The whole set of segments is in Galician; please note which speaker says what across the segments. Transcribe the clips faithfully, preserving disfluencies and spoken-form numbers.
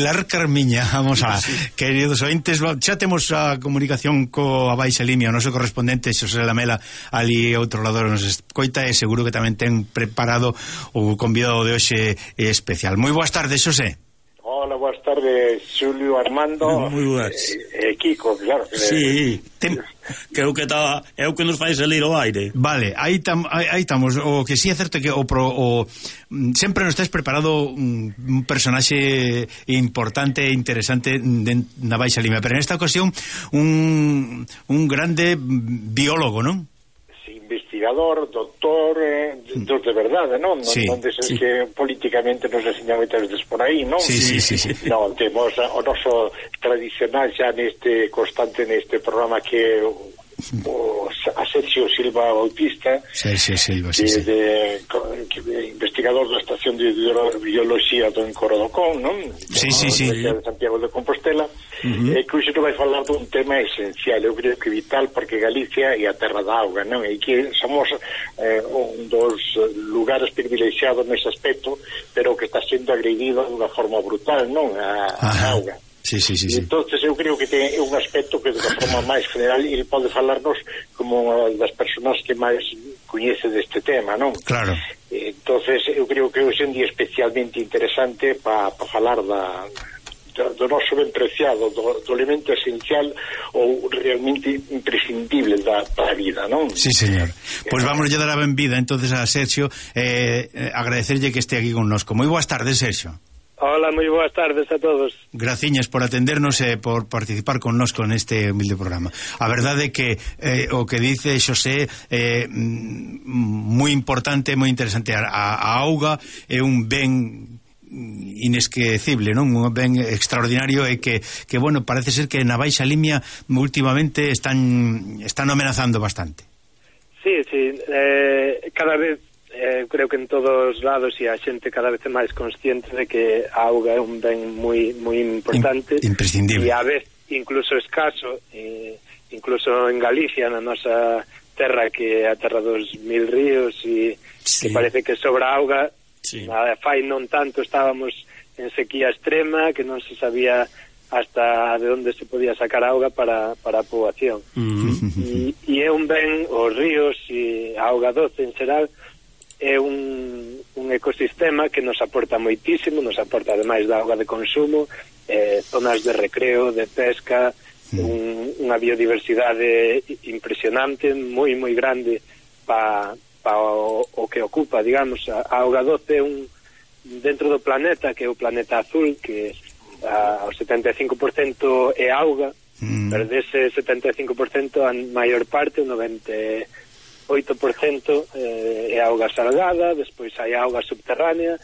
Speaker 1: Pilar Carmiña, vamos a, sí. Queridos ointes, xa temos a comunicación co Baixa Limia, o noso correspondente Xosé Lamela, ali outro lado nos escoita, e seguro que tamén ten preparado o convidado de hoxe especial. Moi boas tardes, Xosé.
Speaker 2: Hola, boas tardes, Xulio, Armando.
Speaker 3: Moi boas.
Speaker 2: E eh, eh, Kiko, claro. Que
Speaker 3: sí, ten... que é o que tá, é o que nos fai salir ao aire.
Speaker 1: Vale, aí tam, aí estamos. O que si sí é certo que o, pro, o sempre nos tes preparado un, un personaxe importante e interesante de, na Baixa Limia, pero en esta ocasión un un grande biólogo, non?
Speaker 2: Investigador, doctor, eh, dos de verdade, non?
Speaker 1: Sí,
Speaker 2: non deses
Speaker 1: sí.
Speaker 2: que políticamente nos enseñan moitas veces por aí, non?
Speaker 1: Sí, sí, sí, sí.
Speaker 2: Non, temos o noso tradicional xa neste constante neste programa que o Asensio Silva Bautista,
Speaker 1: Sergio Silva, sí, sí.
Speaker 2: De, de, de investigador da estación de biología do Encorodocón, non?
Speaker 1: Sí, sí, sí.
Speaker 2: De Santiago de Compostela. Uh-huh. E que hoxe non vai falar dun tema esencial, eu creo que vital, porque Galicia é a terra da auga, non? E que somos eh, un dos lugares privilexiados nese aspecto, pero que está sendo agredido de unha forma brutal, non? A, a auga.
Speaker 1: Sí, sí, sí, sí.
Speaker 2: Entonces eu creo que ten un aspecto que de forma máis general ele pode falarnos como unha das persoas que máis coñece deste tema, non?
Speaker 1: Claro.
Speaker 2: Entonces eu creo que hoxe é un día especialmente interesante para pa falar da do noso ben preciado, do, do elemento esencial ou realmente imprescindible da, da vida, non?
Speaker 1: Sí, señor. Pois pues vamos a dar a benvida entonces a Sergio, eh, eh, agradecerlle que este aquí connosco. Moi boas tardes, Sergio.
Speaker 4: Hola, moi boas tardes a todos.
Speaker 1: Graciñas por atendernos e por participar connosco neste humilde programa. A verdade é que eh, o que dice Xosé é eh, moi importante, moi interesante. A, a auga é un ben inesquecible, non? Un ben extraordinario, e que, que bueno, parece ser que na Baixa Limia últimamente están están amenazando bastante.
Speaker 4: Sí, sí, eh, cada vez Eh, creo que en todos os lados e a xente cada vez é máis consciente de que a auga é un ben moi moi importante,
Speaker 1: imprescindible,
Speaker 4: e a vez incluso escaso, e incluso en Galicia, na nosa terra que é a terra dos mil ríos, e sí. Que parece que sobra auga. Sí. A fai non tanto estábamos en sequía extrema, que non se sabía hasta de onde se podía sacar auga para, para a poboación. Mm-hmm. E, e é un ben, os ríos e a auga doce en xeral é un, un ecosistema que nos aporta moitísimo, nos aporta ademais da auga de consumo, eh, zonas de recreo, de pesca, mm. un, unha biodiversidade impresionante, moi moi grande pa, pa o, o que ocupa, digamos. A, a auga doce é un dentro do planeta, que é o planeta azul, que a, o setenta e cinco por cento é auga, mm. pero dese setenta e cinco por cento a maior parte, o noventa oito por cento eh, é auga salgada, despois hai auga subterránea.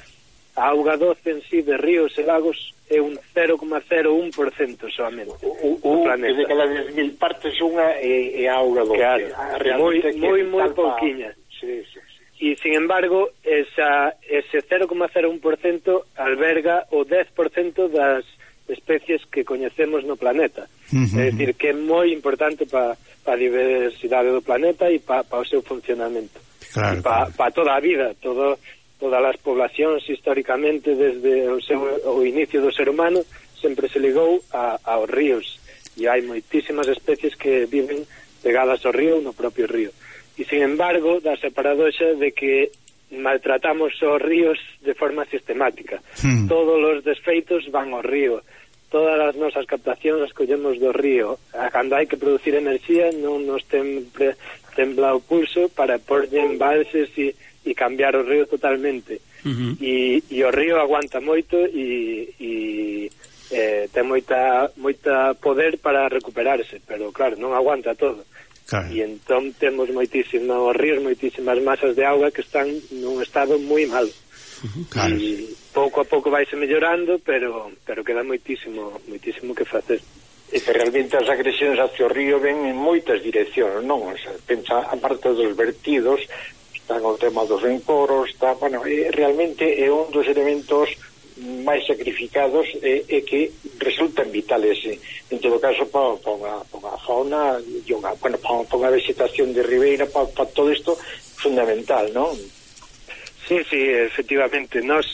Speaker 4: A auga doce en sí de ríos e lagos é un cero coma cero un por cento solamente
Speaker 2: o, o, planeta. De cada dez mil partes unha é, é auga doce.
Speaker 4: Claro, moi, moi, moi pouquiña.
Speaker 2: Sí, sí, sí.
Speaker 4: E, sin embargo, esa, ese cero coma cero un por cento alberga o dez por cento das especies que coñecemos no planeta. Uh-huh. É dicir, que é moi importante para pa a diversidade do planeta e para pa o seu funcionamento.
Speaker 1: Claro,
Speaker 4: e para
Speaker 1: claro.
Speaker 4: pa toda a vida, todo, todas as poblacións históricamente desde o, seu, o inicio do ser humano sempre se ligou a, aos ríos, e hai moitísimas especies que viven pegadas ao río, no propio río. E, sin embargo, dá-se a paradoxa de que maltratamos os ríos de forma sistemática. Hmm. Todos os desfeitos van ao río. Todas as nosas captacións as collemos do río. Cando hai que producir enerxía non nos temple, tembla o pulso para porlle embalses e, e cambiar o río totalmente. Uh-huh. E, e o río aguanta moito e, e eh, ten moita, moita poder para recuperarse, pero claro, non aguanta todo. Claro. E entón temos moitísimos ríos, moitísimas masas de auga que están nun estado moi malo. Claro. E pouco a pouco vaise mellorando, pero pero queda moitísimo moitísimo que facer.
Speaker 2: E que realmente as agresións hacia o río ven en moitas direccións, non? O sea, pensa, a parte dos vertidos, está o tema dos encoros, está, bueno, é, realmente é un dos elementos máis sacrificados e, e que resultan vitales eh, en todo caso para pa unha, pa unha fauna e unha, bueno, para pa unha vegetación de ribeira, para pa todo isto fundamental, non?
Speaker 4: Sí, sí, efectivamente, nos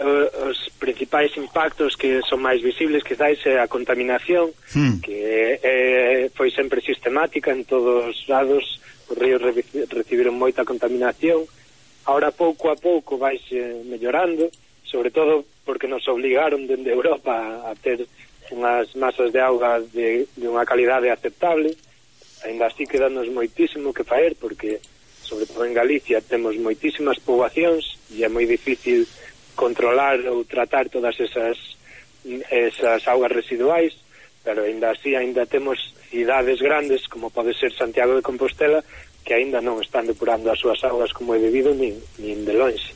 Speaker 4: os principais impactos que son máis visibles quizás é a contaminación, mm. que eh, foi sempre sistemática en todos os lados. Os ríos recibiron moita contaminación. Ahora pouco a pouco vaise mellorando, sobre todo porque nos obligaron dende Europa a ter unhas masas de auga de, de unha calidade aceptable. Ainda así quedanos moitísimo que faer, porque sobre todo en Galicia temos moitísimas poboacións e é moi difícil controlar ou tratar todas esas esas augas residuais, pero ainda así ainda temos cidades grandes como pode ser Santiago de Compostela que ainda non están depurando as súas augas como é debido nin, nin de longe.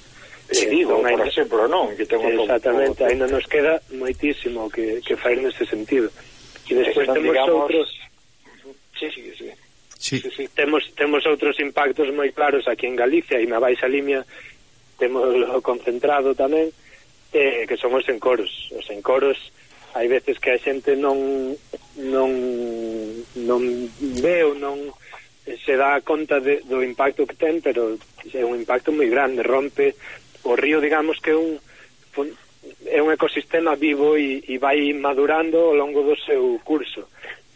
Speaker 2: Eh, digo, por
Speaker 4: ainda,
Speaker 2: exemplo, non? Que tengo
Speaker 4: exactamente,
Speaker 2: todo, todo.
Speaker 4: ainda nos queda moitísimo que, que faer nese sentido. E despois temos
Speaker 2: digamos...
Speaker 4: outros...
Speaker 2: Sí, sí, sí.
Speaker 1: Sí.
Speaker 4: Sí, sí. Temos, temos outros impactos moi claros aquí en Galicia e na Baixa Limia temos o concentrado tamén, eh, que son os encoros. Os encoros hai veces que a xente non non non ve ou non se dá conta de, do impacto que ten, pero é un impacto moi grande, rompe o río, digamos que é un é un ecosistema vivo e, e vai madurando ao longo do seu curso.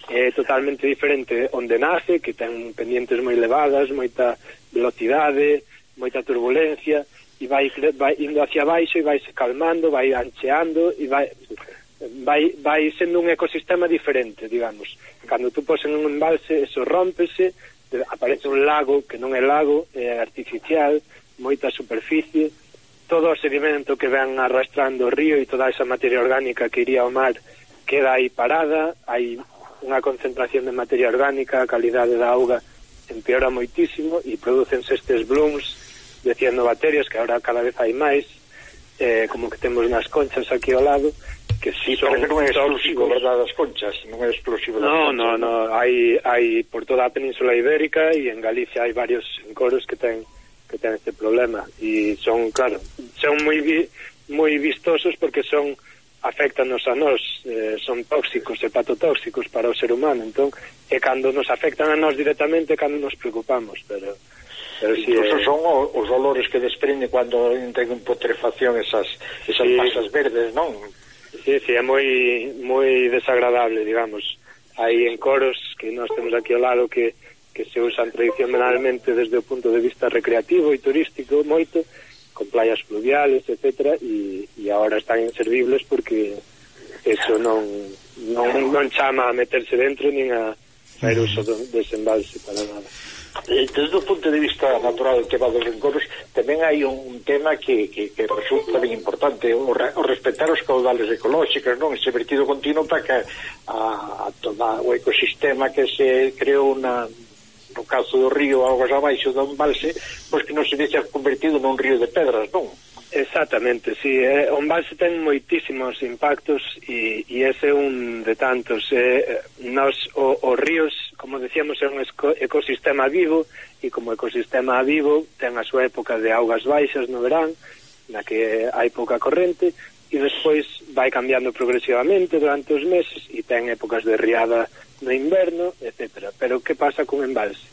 Speaker 4: É totalmente diferente onde nace, que ten pendientes moi elevadas, moita velocidade, moita turbulencia, e vai, vai indo hacia baixo e vai se calmando, vai ancheando e vai, vai, vai sendo un ecosistema diferente, digamos. Cando tú pos en un embalse, eso rómpese, aparece un lago que non é lago, é artificial, moita superficie, todo o sedimento que ven arrastrando o río e toda esa materia orgánica que iría ao mar queda aí parada, hai unha concentración de materia orgánica, a calidade da auga empeora moitísimo e producense estes blooms de cianobacterias que agora cada vez hai máis, eh, como que temos nas conchas aquí ao lado, que si son
Speaker 2: pero que non é exclusivo, verdad, das conchas, non é exclusivo das
Speaker 4: no,
Speaker 2: conchas.
Speaker 4: No, no, no, hai, hai por toda a península ibérica e en Galicia hai varios encoros que ten que ten este problema e son, claro, son moi vi, moi vistosos porque son afectanos a nós, eh, son tóxicos, hepatotóxicos para o ser humano, entón, e cando nos afectan a nós directamente, cando nos preocupamos, pero... pero
Speaker 2: si incluso
Speaker 4: eh...
Speaker 2: son o, os olores que desprende cando entran en putrefacción esas, esas sí. masas verdes, non?
Speaker 4: Sí, sí, é moi, moi desagradable, digamos. Hai encoros que nós temos aquí ao lado que, que se usan tradicionalmente desde o punto de vista recreativo e turístico moito, con playas fluviales, etcétera, e, e agora están inservibles porque eso non, non, non chama a meterse dentro nin a fazer uso do desembalse para nada.
Speaker 2: Desde o punto de vista natural do tema dos encoros tamén hai un tema que, que, que resulta ben importante, o, o respetar os caudales ecolóxicos, non? Ese vertido continuo para que a, a toda o ecosistema que se creou na no caso do río augas abaixo do embalse, pois que non se deixa convertido nun río de pedras, non?
Speaker 4: Exactamente, sí, eh, o embalse ten moitísimos impactos e, e ese é un de tantos. Eh, nos, o, os ríos, como decíamos, é un ecosistema vivo e como ecosistema vivo ten a súa época de augas baixas no verán, na que hai pouca corrente, e despois vai cambiando progresivamente durante os meses e ten épocas de riada no inverno, etcétera. Pero que pasa con embalse?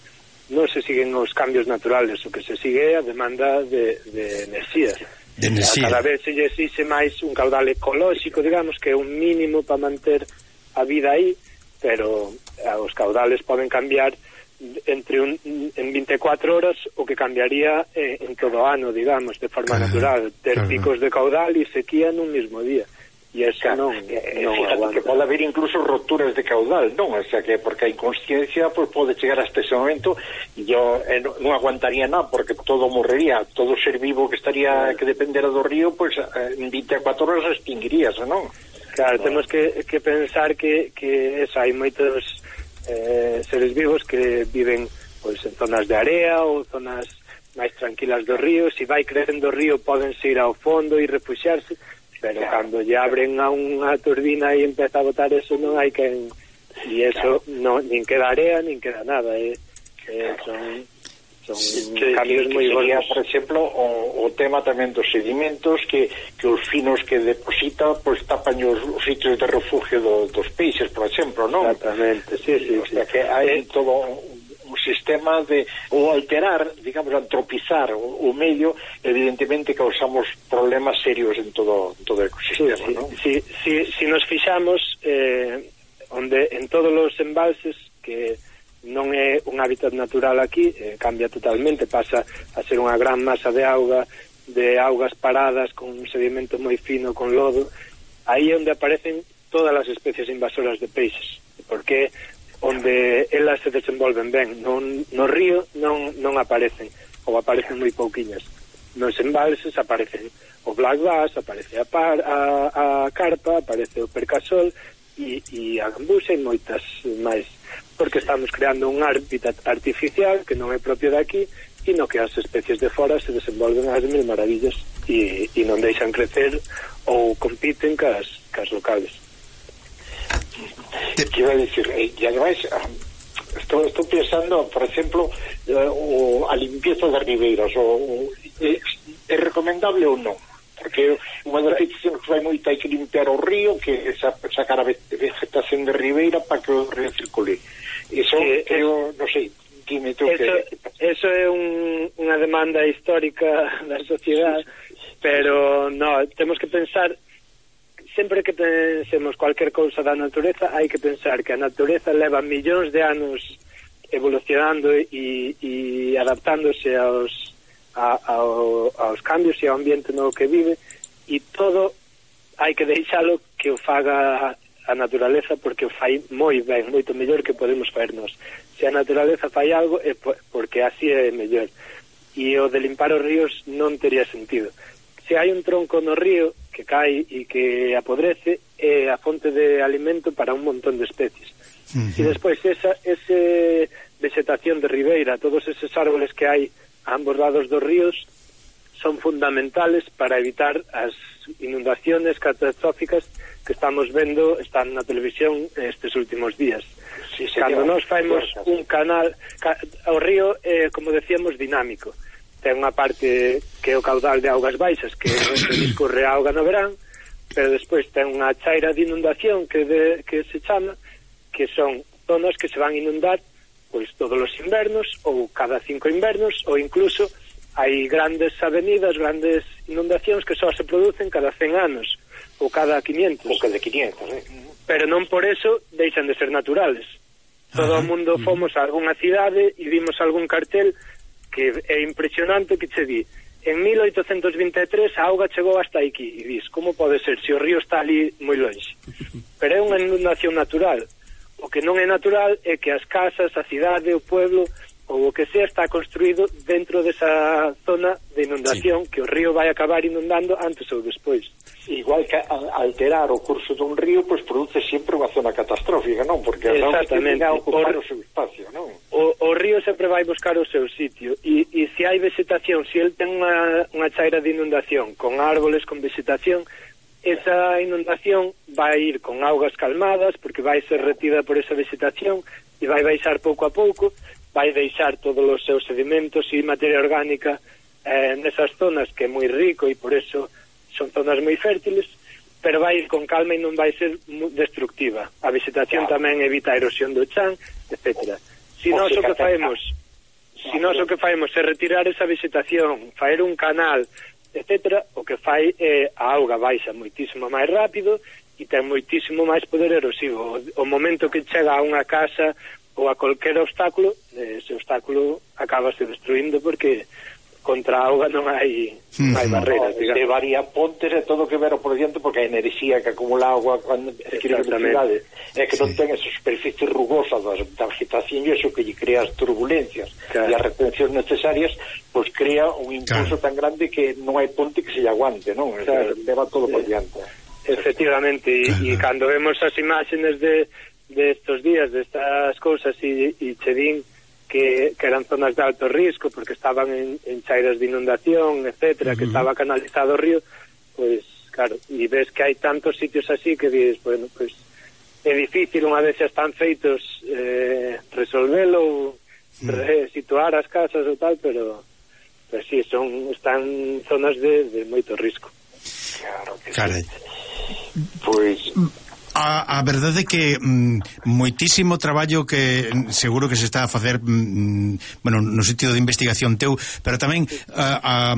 Speaker 4: Non se siguen os cambios naturales, o que se sigue é a demanda de, de enerxía.
Speaker 1: De enerxía.
Speaker 4: Cada vez se lle exixe máis un caudal ecolóxico, digamos, que é un mínimo para manter a vida aí, pero os caudales poden cambiar entre un, en veinticuatro horas o que cambiaría eh, en todo o ano, digamos, de forma uh-huh. natural, ter uh-huh. picos de caudal e sequía nun mismo día. E eso
Speaker 2: claro,
Speaker 4: non,
Speaker 2: eh,
Speaker 4: non
Speaker 2: aguanta. Que pode haber incluso roturas de caudal, non? O sea, que porque a inconsciencia pues, pode chegar hasta ese momento e yo eh, non aguantaría nada porque todo morrería, todo ser vivo que estaría que dependera do río, pues eh, en veinticuatro horas extinguirías, non?
Speaker 4: Claro, no. Temos que, que pensar que, que eso, hai moitos eh, seres vivos que viven pues, en zonas de area ou zonas máis tranquilas do río. Se vai crecendo o río pódense ir ao fondo e refuxiarse, pero claro, cando lle abren a unha turbina e empeza a botar eso non hai que... E eso claro. non, nin queda area, nin queda nada. Eh, eh, son son sí, cambios moi
Speaker 2: sería, por exemplo, o, o tema tamén dos sedimentos que, que os finos que deposita pois pues, tapan os, os sitios de refugio do, dos peixes, por exemplo, non?
Speaker 4: Exactamente, sí, sí.
Speaker 2: O sea, sí. que hai todo un sistema de, ou alterar, digamos, antropizar o, o medio, evidentemente causamos problemas serios en todo, en todo o ecosistema,
Speaker 4: sí,
Speaker 2: ¿no?
Speaker 4: Si, si, si nos fixamos eh, onde en todos os embalses que non é un hábitat natural aquí, eh, cambia totalmente, pasa a ser unha gran masa de auga, de augas paradas con un sedimento moi fino, con lodo. Aí é onde aparecen todas as especies invasoras de peixes, porque onde elas se desenvolven ben. Non, no río non, non aparecen, ou aparecen moi pouquiñas. Nos embalses aparecen o black bass, aparece a, par, a, a carpa, aparece o percasol e, e a gambusa e moitas máis, porque estamos creando un hábitat artificial que non é propio de aquí e no que as especies de fora se desenvolven as mil maravillas e, e non deixan crecer ou compiten cas, cas locales.
Speaker 2: Quiero decir, e ademais estou, estou pensando, por exemplo, o, a limpieza das ribeiras, o, o, é, é recomendable ou non? Porque unha das peticións que vai moito, hai que limpiar o río, que é sacar a vegetación de ribeira para que o río circule. Iso, eh, eu, non sei, dime tú
Speaker 4: eso,
Speaker 2: que...
Speaker 4: Eso é un, unha demanda histórica da sociedade, pero no, temos que pensar, sempre que pensemos cualquier cousa da natureza, hai que pensar que a natureza leva millóns de anos evolucionando e, e adaptándose aos, a, ao, aos cambios e ao ambiente no que vive, e todo hai que deixalo que o faga a naturaleza, porque o fai moi ben, moito mellor que podemos faernos. Se a naturaleza fai algo é porque así é mellor, e o de limpar os ríos non tería sentido. Se hai un tronco no río que cae e que apodrece, é a fonte de alimento para un montón de especies. Uh-huh. E despois esa ese vegetación de ribeira, todos eses árboles que hai a ambos lados dos ríos son fundamentales para evitar as inundaciones catastróficas que estamos vendo, están na televisión estes últimos días. Sí, cando nos faemos un canal, o río é, como decíamos, dinámico. Ten unha parte que é o caudal de augas baixas, que discorre a auga no verán, pero despois ten unha chaira de inundación que, de, que se chama, que son zonas que se van a inundar pois todos os invernos, ou cada cinco invernos, ou incluso hai grandes avenidas, grandes inundacións que só se producen cada cen anos, ou cada quinientos.
Speaker 2: Ou cada quinientos, eh?
Speaker 4: Pero non por eso deixan de ser naturales. Todo o mundo fomos a algunha cidade e vimos algún cartel que é impresionante, que che di en mil oitocentos vinte e tres a auga chegou hasta aquí, e dis, como pode ser se o río está ali moi longe? Pero é unha inundación natural. O que non é natural é que as casas, a cidade, o pueblo ou o que sea está construído dentro desa zona de inundación, sí, que o río vai acabar inundando antes ou despois.
Speaker 2: Igual que alterar o curso dun río, pois produce sempre unha zona catastrófica, non? Porque as augas tenden a ocupar o, o seu espacio, non? O,
Speaker 4: o río sempre vai buscar o seu sitio, e, e se hai vegetación, se el ten unha, unha chaira de inundación con árboles, con vegetación, esa inundación vai ir con augas calmadas, porque vai ser retida por esa vegetación e vai baixar pouco a pouco, vai deixar todos os seus sedimentos e materia orgánica eh, nesas zonas que é moi rico e por eso son zonas moi fértiles, pero vai ir con calma e non vai ser destructiva. A vegetación claro. Tamén evita a erosión do chan, etcétera. Si nós o que faemos, si nós o que faemos é retirar esa vegetación, faer un canal, etcétera, o que fai é a auga baixa moitísimo máis rápido e ten moitísimo máis poder erosivo. O, o momento que chega a unha casa ou a calquer obstáculo, ese obstáculo acabase destruindo porque contra a auga non hai, non hai barreras, digamos.
Speaker 2: Levaría pontes e todo que ver por diante, porque a enerxía que acumula a auga cando adquire velocidade é que non ten esa superficie rugosa da vegetación e iso que lle crea as turbulencias claro. E as retencións necesarias, pois crea un impulso claro. Tan grande que non hai ponte que se lle aguante, non? Claro. Leva todo por diante.
Speaker 4: Efectivamente, e, e cando vemos as imágenes de, de estos días, de estas cousas e, e che din Que, que eran zonas de alto risco porque estaban en, en chairas de inundación, etcétera, uh-huh. Que estaba canalizado o río, pues claro, e ves que hai tantos sitios así que dices, bueno, pues é difícil unha vez xa están feitos eh, resolvelo, uh-huh. re, situar as casas ou tal, pero pues sí, son están zonas de, de moito risco.
Speaker 2: Claro que
Speaker 1: Carai.
Speaker 2: sí. Pois
Speaker 1: a, a verdade é que mm, moitísimo traballo que seguro que se está a facer mm, bueno, no sentido de investigación teu, pero tamén a, a,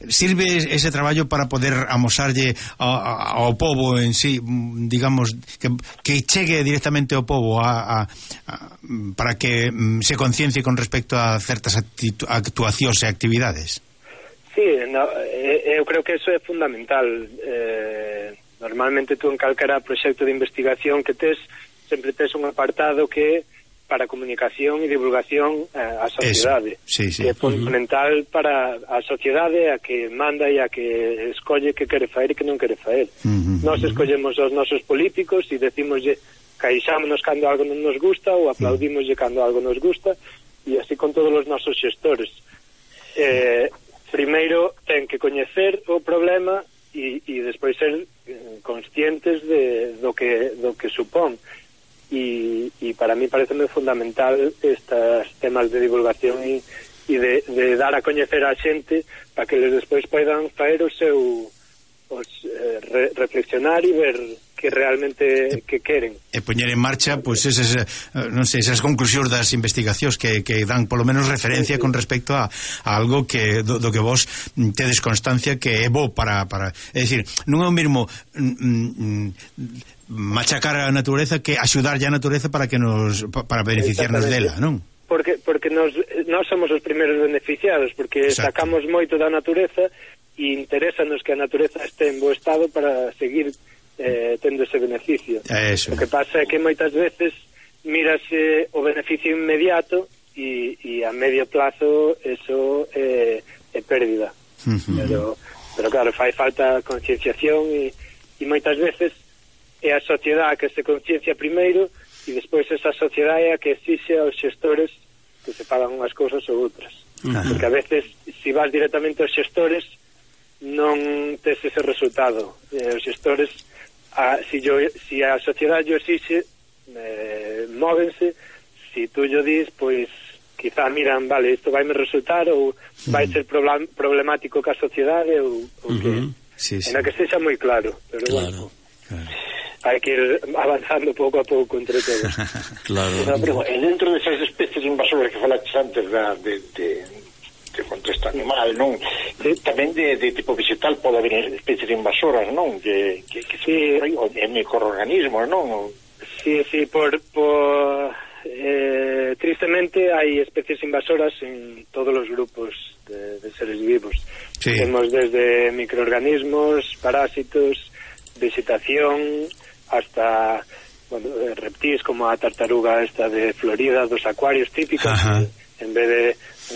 Speaker 1: sirve ese traballo para poder amosarlle a, a, ao povo en sí, digamos, que, que chegue directamente ao povo a, a, a, para que mm, se conciencie con respecto a certas actuacións e actividades.
Speaker 4: Sí, no, eu creo que eso é fundamental. Eh, normalmente tú en calquera proxecto de investigación que tes, sempre tes un apartado que para comunicación e divulgación eh, á sociedade,
Speaker 1: sí, sí.
Speaker 4: que é fundamental uh-huh. para a sociedade, a que manda e a que escolle que quere faer e que non quere faer. Uh-huh. Nós escollemos os nosos políticos e decimoslle, caixámonos cando algo non nos gusta ou aplaudimoslle cando algo nos gusta, e así con todos os nosos xestores. Eh, primeiro ten que coñecer o problema e, e despois ser conscientes de, do, que, do que supón, e, e para mí pareceme fundamental estes temas de divulgación e, e de, de dar a coñecer a xente para que eles despois poidan faer o seu os, eh, re, reflexionar e ver que realmente que queren
Speaker 1: e poñer en marcha pois pues, esas, non sei, esas conclusións das investigacións que, que dan polo menos referencia sí, sí. con respecto a, a algo que do, do que vos tedes constancia que é bo para, para é dicir, non é o mesmo mm, mm, machacar a natureza que axudarlle a natureza para que nos para beneficiarnos dela, non?
Speaker 4: Porque porque nos nós somos os primeiros beneficiados, porque Exacto. sacamos moito da natureza e interésanos que a natureza este en bo estado para seguir eh, tendo ese beneficio.
Speaker 1: Eso.
Speaker 4: O que pasa é que moitas veces mírase o beneficio inmediato e, e a medio plazo eso é, é pérdida. Uh-huh. Pero, pero claro, fai falta concienciación e, e moitas veces é a sociedade que se conciencia primeiro e despois esa sociedade é a que exixe aos xestores que se fagan unhas cousas ou outras. Uh-huh. Porque a veces, se vas directamente aos xestores, non tes ese resultado. Eh, os xestores, a, si, yo, si a sociedade o exixe, eh, móvense. Si tú yo dis, pois quizá miran, vale, isto vai me resultar ou vai ser problem, problemático ca sociedade ou, ou uh-huh. que
Speaker 1: sí, sí.
Speaker 4: en a que sexa moi claro, pero
Speaker 3: claro,
Speaker 4: bueno, claro. hai que ir avanzando pouco a pouco entre todos.
Speaker 3: Claro.
Speaker 2: Pero, e dentro desas especies invasoras que falaches antes da, de, de, de contexto animal, non? De, tamén de, de tipo vegetal pode haber especies invasoras, non? Que, que, que sí, en microorganismos, non?
Speaker 4: Sí, sí, por... por eh, tristemente hai especies invasoras en todos os grupos de, de seres vivos. Sí. Temos desde microorganismos, parásitos, vegetación, hasta bueno, reptiles como a tartaruga esta de Florida, dos acuarios típicos. Que, en vez de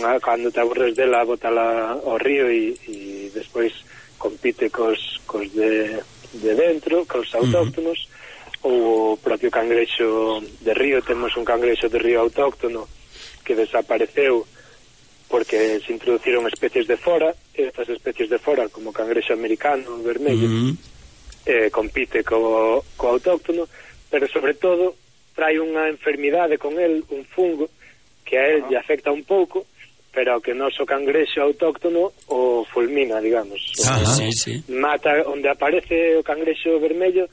Speaker 4: unha, cando te aburres dela, bótala ao río e, e despois compite cos, cos de, de dentro, cos autóctonos. Uh-huh. Ou o propio cangrexo de río. Temos un cangrexo de río autóctono que desapareceu porque se introduciron especies de fora. Estas especies de fora, como cangrexo americano vermello, uh-huh. eh, compite co, co autóctono, pero sobre todo trae unha enfermidade con el, un fungo que a él uh-huh. lle afecta un pouco, pero que o noso cangrexo autóctono o fulmina, digamos.
Speaker 3: Uh-huh. O, sí, sí. Mata
Speaker 4: onde aparece o cangrexo vermello,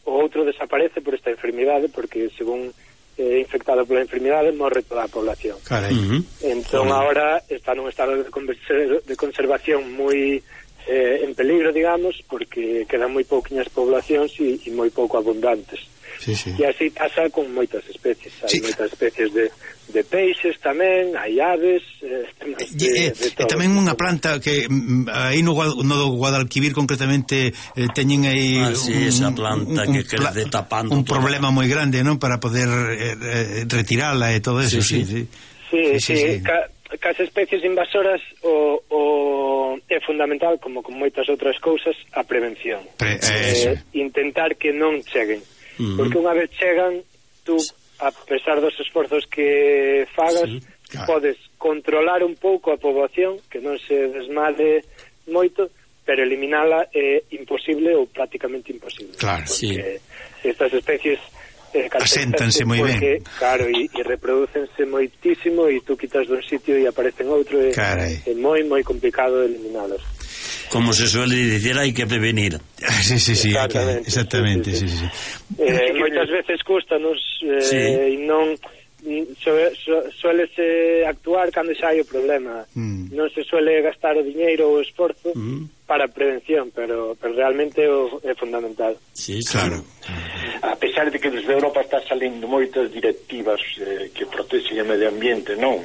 Speaker 4: o outro desaparece por esta enfermidade, porque según é eh, infectado pola enfermidade morre toda a población.
Speaker 1: Uh-huh.
Speaker 4: Entón uh-huh. ahora está nun estado de, converser, de conservación moi eh, en peligro, digamos, porque quedan moi pouquiñas poblacións e, e moi pouco abundantes.
Speaker 1: Sí, sí.
Speaker 4: E así pasa con moitas especies. Hai
Speaker 1: sí.
Speaker 4: moitas especies de, de peixes tamén, hai aves, eh,
Speaker 1: e,
Speaker 4: de, de
Speaker 1: e tamén unha planta que aí no, no Guadalquivir concretamente eh, teñen aí
Speaker 3: ah, sí, un, esa planta un, que crece tapando
Speaker 1: un toda. Problema moi grande, non? Para poder eh, retirala e todo eso, sí, sí.
Speaker 4: Sí, sí, sí, sí, sí. Ca, cas especies invasoras o, o é fundamental, como con moitas outras cousas, a prevención.
Speaker 1: Pre, eh,
Speaker 4: eh, intentar que non cheguen. Uh-huh. Porque unha vez chegan, tú, a pesar dos esforzos que fagas, sí, claro. podes controlar un pouco a poboación, que non se desmade moito, pero eliminala é imposible ou prácticamente imposible.
Speaker 1: Claro,
Speaker 4: porque
Speaker 1: sí.
Speaker 4: estas especies eh,
Speaker 1: aséntanse moi ben.
Speaker 4: Claro, e, e reprodúcense moitísimo e tú quitas dun sitio e aparecen outro, e é moi, moi complicado eliminalos.
Speaker 3: Como se suele dicir, hai que prevenir.
Speaker 1: Sí, sí, sí,
Speaker 4: exactamente,
Speaker 1: que, exactamente, sí, sí, sí.
Speaker 4: sí. Eh, moitas veces custanos eh,
Speaker 3: sí.
Speaker 4: e non suele, suele actuar cando xa hai o problema. Mm. Non se suele gastar o diñeiro ou o esforzo mm. para a prevención, pero, pero realmente o, é fundamental.
Speaker 3: Sí, claro.
Speaker 2: A pesar de que desde Europa está salindo moitas directivas eh, que protexen o medio ambiente, non?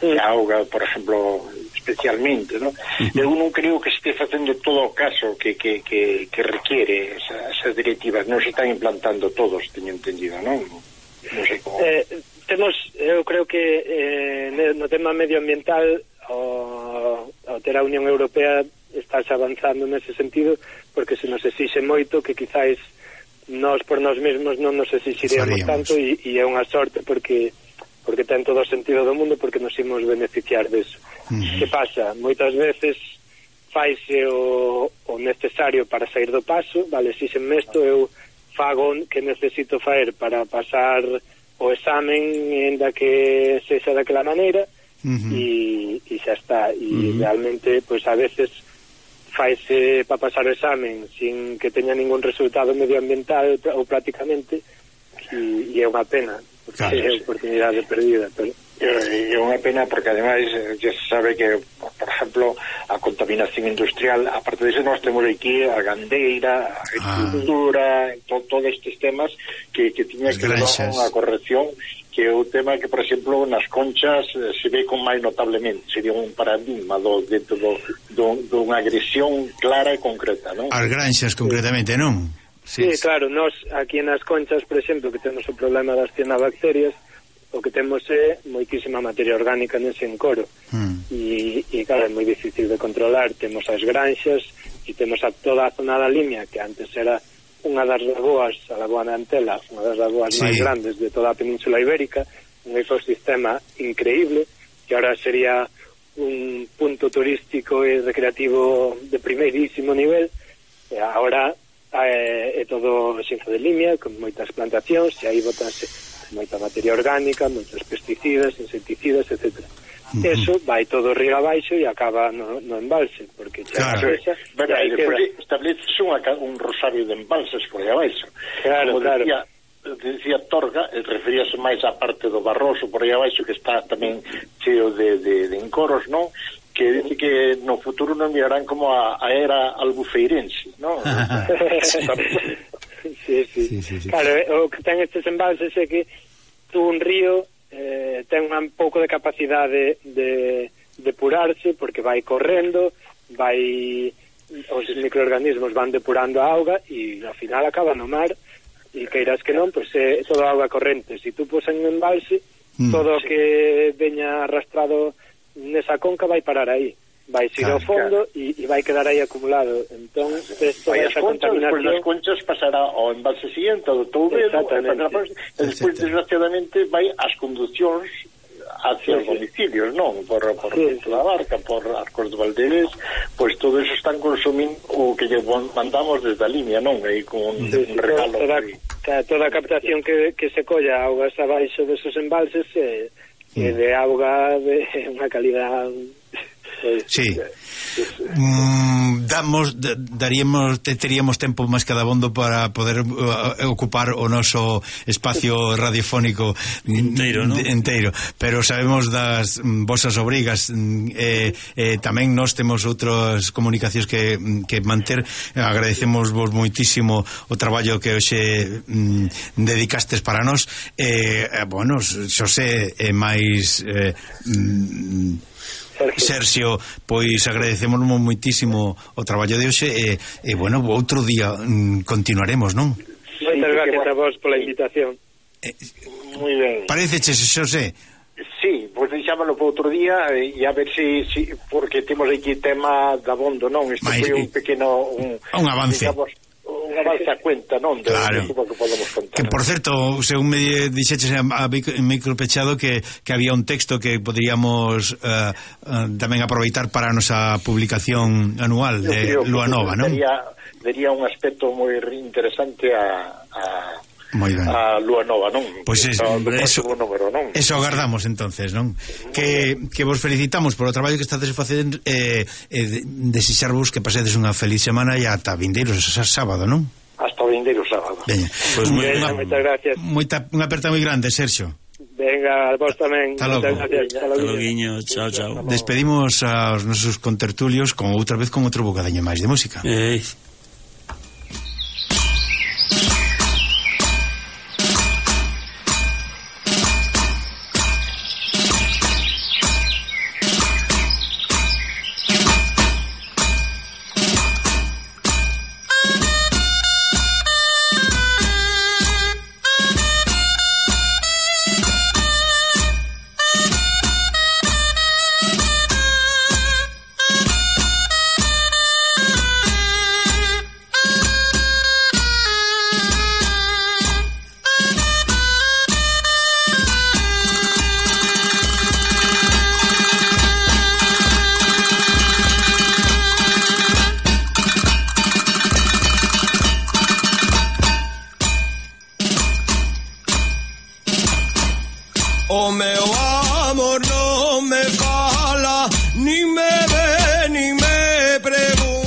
Speaker 2: Mm. A auga, por exemplo, especialmente, non? Mm-hmm. Eu non creo que se este facendo todo o caso que, que, que, que requiere esa, esas directivas. Non se están implantando todos, teño entendido, non? Non sei como...
Speaker 4: Eh, temos, eu creo que eh, no tema medioambiental o, o ter a Unión Europea estás avanzando nese sentido, porque se nos exixe moito que quizáis nós por nós mesmos non nos exixiríamos tanto, e, e é unha sorte porque porque ten todo o sentido do mundo, porque nos imos beneficiar deso. Uh-huh. Que pasa? Moitas veces faise o, o necesario para sair do paso, vale, exixenme isto, eu fago que necesito faer para pasar o examen ainda que sexa daquela maneira, uh-huh. e, e xa está, e uh-huh. realmente pois a veces faise para pasar o examen sin que teña ningún resultado medioambiental ou prácticamente, e, e é unha pena porque claro, é oportunidade perdida, pero
Speaker 2: é unha pena porque ademais ya se sabe que, por exemplo, a contaminación industrial, aparte disso nós temos aquí a gandeira, a agricultura, ah. to, todos estes temas que, que tiña que dar unha corrección, que é o tema que, por exemplo, nas Conchas se ve con máis notablemente, sería un paradigma do, dentro do, do, dunha agresión clara e concreta, non?
Speaker 1: As granxas concretamente, non?
Speaker 4: Sí, sí, claro, nós aquí nas Conchas, por exemplo, que temos o problema das cianobacterias, o que temos é moitísima materia orgánica nese encoro, mm. e, e claro, é moi difícil de controlar. Temos as granxas e temos a toda a zona da Limia, que antes era unha das lagoas, a Lagoa de Antela, unha das lagoas sí. máis grandes de toda a Península Ibérica, un ecosistema increíble, que ahora sería un punto turístico e recreativo de primeirísimo nivel, e agora é, é todo xenzo de Limia, con moitas plantacións, e aí botanse moita materia orgánica, moitos pesticidas, insecticidas, etcétera. Uh-huh. Eso vai todo río abaixo e acaba no, no embalse, porque xa
Speaker 2: claro. Esa, bueno, e despois estableces un rosario de embalses por aí abaixo.
Speaker 4: Claro,
Speaker 2: como
Speaker 4: claro.
Speaker 2: Decía, decía Torga, referíase máis á parte do Barroso por aí abaixo, que está tamén cheo de, de, de encoros, non? Que dice que no futuro non mirarán como a, a era albufeirense, non?
Speaker 4: Sí, sí. Sí, sí, sí. Claro, o que ten estes embalses é que tú un río eh, ten un pouco de capacidade de depurarse, porque vai correndo, vai os microorganismos van depurando a auga e ao final acaba no mar, e queiras que non, pois é toda auga corrente. Se tú pos en un embalse, mm, todo o sí. que veña arrastrado nesa conca vai parar aí, vai ir claro, ao fondo e claro. vai quedar aí acumulado. Entón, esto
Speaker 2: vai as conchas, despois das conchas pasará ao embalse siguiente, ao Touvedo, e despois, desgraciadamente, vai as conducións hacia os domicilios, non? Por, por sí, sí. da Barca, por Arcos de Valderes, pois todo eso están consumindo o que lle mandamos desde a Limia, non? Aí con un, sí, un regalo.
Speaker 4: Toda, toda, toda a captación que, que se colla augas abaixo desos embalses é, é de auga de unha calidad...
Speaker 1: Sí. Mm, damos daríamos teríamos tempo máis que dabondo para poder uh, ocupar o noso espacio radiofónico
Speaker 3: inteiro, ¿no?
Speaker 1: inteiro, pero sabemos das mm, vosas obrigas, mm, eh, eh, tamén nós temos outras comunicacións que, que manter. Agradecemos vos moitísimo o traballo que hoxe mm, dedicastes para nós. Eh, eh, bueno, Xosé e eh, máis eh, mm, Sergio, pois agradecemos moitísimo o traballo de hoxe e, e bueno, outro día mm, continuaremos, non?
Speaker 4: Moitas gracias a vos pola invitación.
Speaker 2: Eh, Moi ben.
Speaker 1: Pareceches, Xosé?
Speaker 2: Sí, pois deixámoslo para outro día e a ver se, si, si, porque temos aquí tema da bondo, non? Isto foi un pequeno un,
Speaker 1: un avance.
Speaker 2: Digamos, unha avance a cuenta, non? De,
Speaker 1: claro.
Speaker 2: de que podemos contar.
Speaker 1: Que, por certo, según me dixeches a, a micro pechado que, que había un texto que poderíamos uh, uh, tamén aproveitar para a nosa publicación anual de Lua Nova, non?
Speaker 2: Daría, daría un aspecto moi interesante a, a, a lúa nova, non?
Speaker 1: Pois pues es,
Speaker 2: eso, número, non?
Speaker 1: Eso agardamos entonces, non? Que, que vos felicitamos por o traballo que estades facendo, eh, eh, desexarvos que pasedes unha feliz semana e ata vindeiros sábado, non?
Speaker 2: Hasta o vindeiro sábado.
Speaker 1: Veña,
Speaker 4: pues muy, Venga, una, moitas gracias.
Speaker 1: Moita, unha aperta moi grande, Sergio.
Speaker 4: Venga, vos tamén.
Speaker 1: Hasta logo.
Speaker 3: Hasta logo, chao, chao.
Speaker 1: Despedimos aos nosos contertulios con outra vez con outro bocadiño máis de música.
Speaker 3: Eh.
Speaker 5: O meu amor